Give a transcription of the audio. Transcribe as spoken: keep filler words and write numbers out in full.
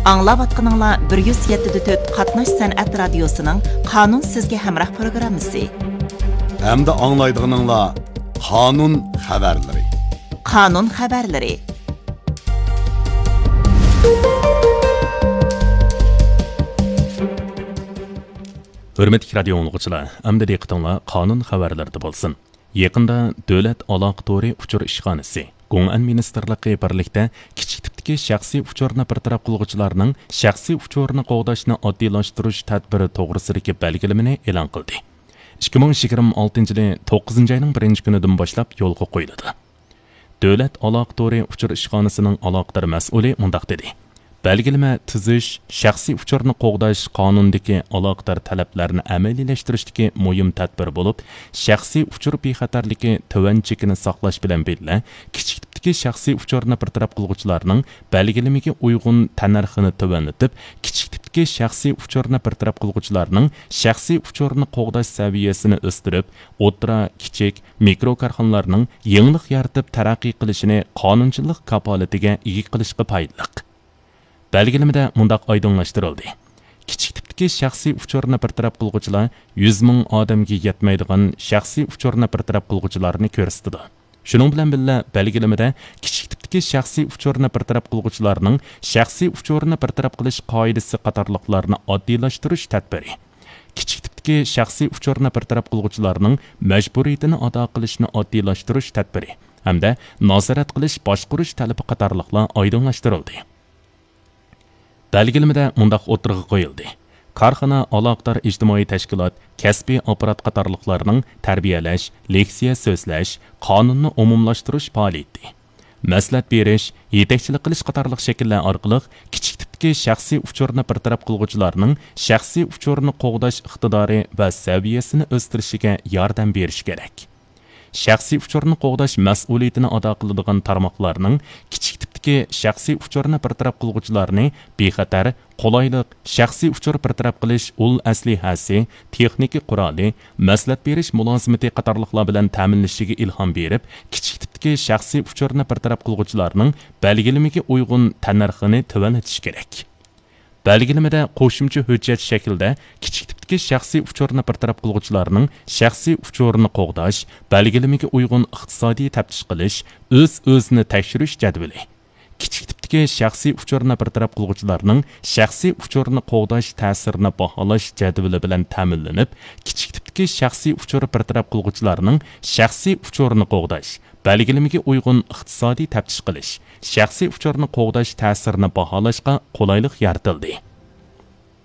ئاڭلاۋاتقىنىڭلار بىر يۈز يەتتە دە تۆت قاتناش سەنئەت رادىيوسىنىڭ قانۇن سىزگە ھەمراھ پروگراممىسى. ئەمدى ئاڭلايدىغىنىڭلار قانۇن خەۋەرلىرى. قانۇن خەۋەرلىرى. ھۆرمەتلىك رادىيو ئاڭلىغۇچىلار، ئەمدى دىققىتىڭلار قانۇن خەۋەرلىرىدە بولسۇن. يېقىندا دۆلەت ئالاقە تورى ئۇچۇر ئىشخانىسى، گوڭئەن مىنىستىرلىقى بىرلىكتە كىچىك تىپتىكى شەخسىي ئۇچۇرنى بىر تەرەپ قىلغۇچىلارنىڭ شەخسىي ئۇچۇرىنى قوغداشنى ئاددىيلاشتۇرۇش تەدبىرى توغرىسىدىكى بەلگىلىمىنى ئېلان قىلدى. ئىككى مىڭ يىگىرمە ئالتىنچى يىلى توققۇزىنچى ئاينىڭ بىرىنچى كۈنىدىن باشلاپ يولغا قويۇلىدۇ. دۆلەت ئالاقە تورى ئۇچۇر ئىشخانىسىنىڭ ئالاقىدار مەسئۇلى مۇنداق دېدى: بەلگىلىمە تۈزۈش، شەخسىي ئۇچۇرنى قوغداش قانۇنىدىكى ئالاقىدار تەلەپلەرنى ئەمەلىيلەشتۈرۈشتىكى مۇھىم تەدبىر بولۇپ، شەخسىي ئۇچۇر بىخەتەرلىكى تۆۋەن چېكىنى ساقلاش بىلەن بىللە، كىچىك تىپتىكى شەخسىي ئۇچۇرنى بىر تەرەپ قىلغۇچىلارنىڭ بەلگىلىمىگە ئۇيغۇن تەننەرخىنى تۆۋەنلىتىپ، كىچىك تىپتىكى شەخسىي ئۇچۇرنى بىر تەرەپ قىلغۇچىلارنىڭ شەخسىي ئۇچۇرنى قوغداش سەۋىيەسىنى ئۆستۈرۈپ، ئوتتۇرا، كىچىك، مىكرو كارخانىلارنىڭ يېڭىلىق يارىتىپ تەرەققىي قىلىشىنى قانۇنچىلىق كاپالىتىگە ئىگە قىلىشقا پايدىلىق. بەلگىلىمىدە مۇنداق ئايدىڭلاشتۇرۇلدى: كىچىك تىپتىكى شەخسىي ئۇچۇرنى بىر تەرەپ قىلغۇچىلار يۈز مىڭ ئادەمگە يەتمەيدىغان شەخسىي ئۇچۇرنى بىر تەرەپ قىلغۇچىلارنى كۆرسىتىدۇ. شۇنىڭ بىلەن بىللە، بەلگىلىمىدە كىچىك تىپتىكى شەخسىي ئۇچۇرنى بىر تەرەپ قىلغۇچىلارنىڭ شەخسىي ئۇچۇرىنى بىر تەرەپ قىلىش قائىدىسى قاتارلىقلارنى ئاددىيلاشتۇرۇش تەدبىرى، كىچىك تىپتىكى شەخسىي ئۇچۇرنى بىر تەرەپ قىلغۇچىلارنىڭ مەجبۇرىيىتىنى ئادا قىلىشنى ئاددىيلاشتۇرۇش تەدبىرى ھەمدە نازارەت قىلىش باشقۇرۇش تەلىپى قاتارلىقلار ئايدىڭلاشتۇرۇلدى. بەلگىلىمىدە مۇنداق ئوتتۇرىغا قويۇلدى: كارخانا، ئالاقىدار ئىجتىمائىي تەشكىلات، كەسپىي ئاپپارات قاتارلىقلارنىڭ تەربىيەلەش، لېكسىيە سۆزلەش، قانۇننى ئومۇملاشتۇرۇش پائالىيىتى، مەسلىھەت بېرىش، يېتەكچىلىك قىلىش قاتارلىق شەكىللەر ئارقىلىق كىچىك تىپتىكى شەخسىي ئۇچۇرنى بىر تەرەپ قىلغۇچىلارنىڭ شەخسىي ئۇچۇرنى قوغداش ئىقتىدارى ۋە سەۋىيەسىنى ئۆستۈرۈشىگە ياردەم بېرىش كېرەك. شەخسىي ئۇچۇرنى قوغداش مەسئۇلىيىتىنى ئادا قىلىدىغان تارماقلارنىڭ كىچىك تىپتىكى شەخسىي ئۇچۇرنى بىر تەرەپ قىلغۇچىلارنى بىخەتەر، قولايلىق، شەخسىي ئۇچۇر بىر تەرەپ قىلىش ئۇل ئەسلىھەسى، تېخنىكا قورالى، مەسلىھەت بېرىش مۇلازىمىتى قاتارلىقلار بىلەن تەمىنلىشىگە ئىلھام بېرىپ، كىچىك تىپتىكى شەخسىي ئۇچۇرنى بىر تەرەپ قىلغۇچىلارنىڭ بەلگىلىمىگە ئۇيغۇن تەننەرخىنى تۆۋەنلىتىش كېرەك. بەلگىلىمىدە قوشۇمچە ھۆججەت شەكلىدە كىچىك تىپتىكى شەخسىي ئۇچۇرنى بىر تەرەپ قىلغۇچىلارنىڭ شەخسىي ئۇچۇرىنى قوغداش، بەلگىلىمىگە ئۇيغۇن ئىقتىسادىي تەپتىش قىلىش، ئۆز-ئۆزىنى تەكشۈرۈش جەدۋىلى، كىچىك تىپتىكى شەخسىي ئۇچۇرنى بىر تەرەپ قىلغۇچىلارنىڭ شەخسىي ئۇچۇرنى قوغداش تەسىرىنى باھالاش جەدۋىلى بىلەن تەمىنلىنىپ، كىچىك تىپتىكى شەخسىي ئۇچۇر بىر تەرەپ قىلغۇچىلارنىڭ شەخسىي ئۇچۇرنى قوغداش، بەلگىلىمىگە ئۇيغۇن ئىقتىسادىي تەپتىش قىلىش، شەخسىي ئۇچۇرنى قوغداش تەسىرىنى باھالاشقا قولايلىق يارىتىلدى.